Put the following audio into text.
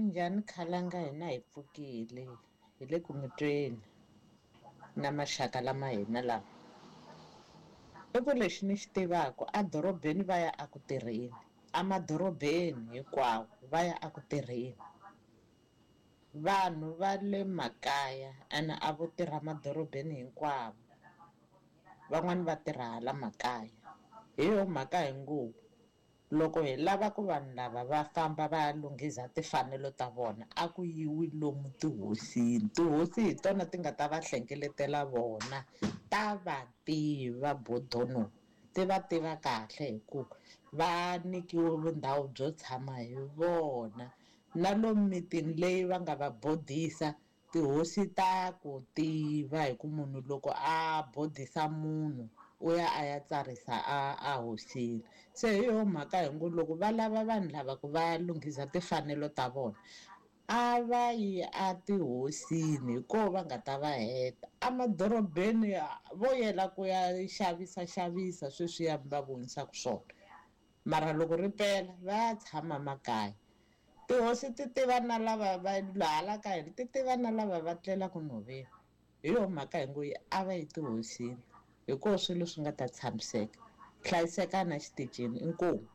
Minjhani khalanga hina hi pfukile hi le ku mi tweni na maxaka lama hina lama i ku lexi ni xi tivaka edorobeni va ya eku tirheni emadorobeni hinkwawo va ya eku tirheni vanhu va le makaya ene a vo tirha madorobeni hinkwavo van'wani va tirha hala makaya hi yo mhaka hi ngo loko hi lava ku vanhu lava va famba va ya lunghiza timfanelo ta vona a ku yiwi lomu tihosini tihosi hi tona ti nga ta va hlengeletela vona ta va tiva bodono ti va tiva kahle hi ku va nyikiwe vundhawu byo tshama hi vona na lomu mitini leyi va nga va bodisa tihosi ta ku tiva hi ku munhu loko a bodisa munhu u ya a ya tsarisa a a hosini se hi yo mhaka hi ngo loko va lava vanhu lava ku va lunghiza timfanelo ta vona a va yi a tihosini hi koho va nga ta va heta emadorobeni vo yela ku ya xavisa xavisa sweswiya va vonisaka swona mara loko ri pela va ya tshama makaya tihosi ti tiva na lava va hala ka hina ti tiva na lava va tlelaka nhoveni hi yo mhaka hi ngo yi a va yi tihosini hi koho swilo swi nga ta tshamiseka hlayisekani exitichini inkomu.